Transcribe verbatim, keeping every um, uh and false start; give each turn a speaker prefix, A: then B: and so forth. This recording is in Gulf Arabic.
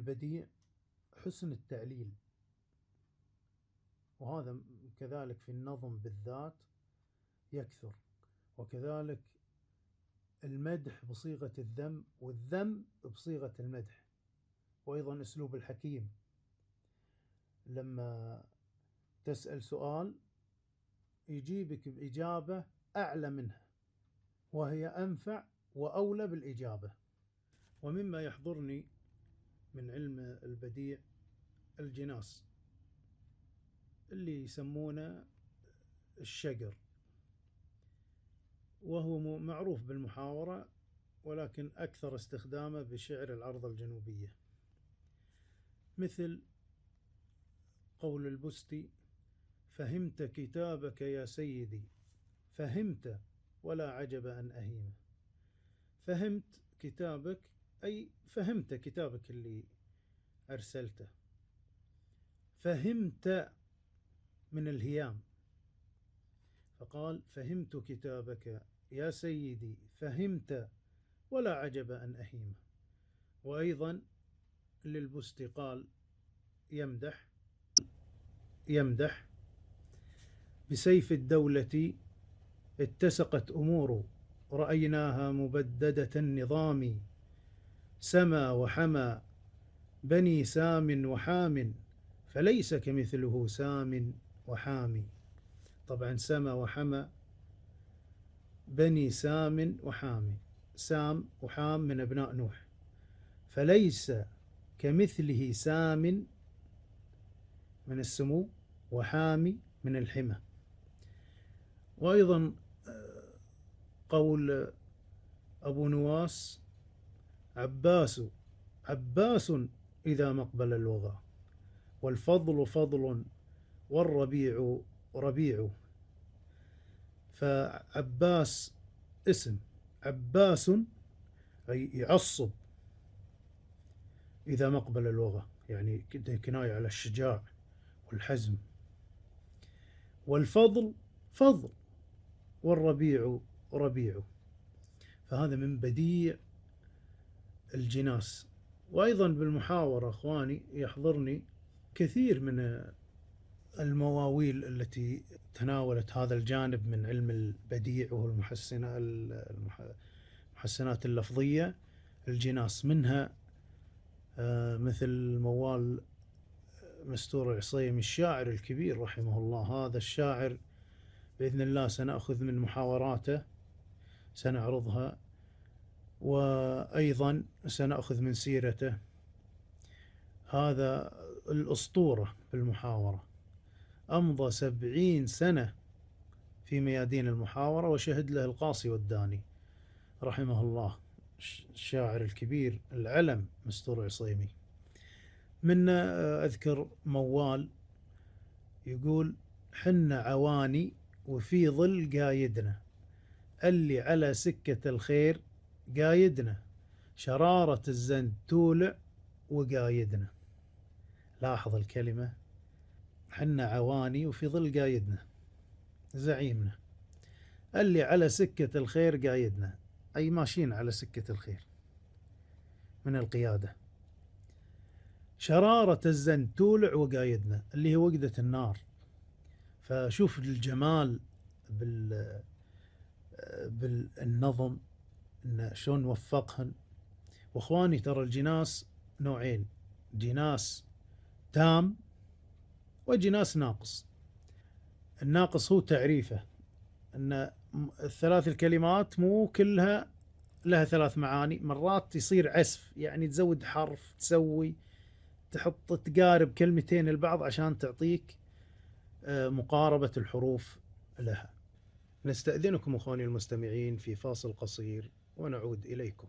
A: البديع حسن التعليل، وهذا كذلك في النظم بالذات يكثر، وكذلك المدح بصيغة الذم والذم بصيغة المدح، وأيضا أسلوب الحكيم لما تسأل سؤال يجيبك بإجابة أعلى منها وهي أنفع وأولى بالإجابة. ومما يحضرني من علم البديع الجناس اللي يسمونه الشقر، وهو معروف بالمحاورة ولكن أكثر استخدامه بشعر العرض الجنوبية، مثل قول البستي: فهمت كتابك يا سيدي فهمت ولا عجب أن أهيمه. فهمت كتابك أي فهمت كتابك اللي أرسلته، فهمت من الهيام، فقال: فهمت كتابك يا سيدي فهمت ولا عجب أن أهيمه. وأيضا للبستي قال يمدح يمدح بسيف الدولة اتسقت أمور رأيناها مبددة النظام، سما وحمى بني سام وحام فليس كمثله سام وحامي. طبعا سما وحمى بني سام وحامي، سام وحام من أبناء نوح، فليس كمثله سام من السمو وحامي من الحمى. وأيضا قول أبو نواس: عباس عباس إذا مقبل الوغى، والفضل فضل والربيع ربيع. فعباس اسم، عباس أي يعصب إذا مقبل الوغى، يعني كناية على الشجاع والحزم. والفضل فضل والربيع ربيع. فهذا من بديع الجناس. وأيضا بالمحاورة أخواني يحضرني كثير من المواويل التي تناولت هذا الجانب من علم البديع وهو المحسنات اللفظية الجناس، منها مثل موال مستور العصيمي الشاعر الكبير رحمه الله. هذا الشاعر بإذن الله سنأخذ من محاوراته سنعرضها، وأيضا سنأخذ من سيرته. هذا الأسطورة بالمحاورة، أمضى سبعين سنة في ميادين المحاورة، وشهد له القاصي والداني رحمه الله، الشاعر الكبير العلم مستور عصيمي. من أذكر موال يقول: حن عواني وفي ظل قايدنا، اللي على سكة الخير قايدنا، شرارة الزند تولع وقايدنا. لاحظ الكلمة، حن عواني وفي ظل قايدنا زعيمنا، اللي على سكة الخير قايدنا، أي ماشيين على سكة الخير من القيادة. شرارة الزند تولع وقايدنا اللي هي وقدة النار. فشوف الجمال بال بالنظم إن شلون وفقهن. واخواني ترى الجناس نوعين: جناس تام وجناس ناقص. الناقص هو تعريفه ان الثلاث الكلمات مو كلها لها ثلاث معاني، مرات يصير عسف، يعني تزود حرف، تسوي تحط تقارب كلمتين البعض عشان تعطيك مقاربة الحروف لها. نستأذنكم أخواني المستمعين في فاصل قصير ونعود إليكم.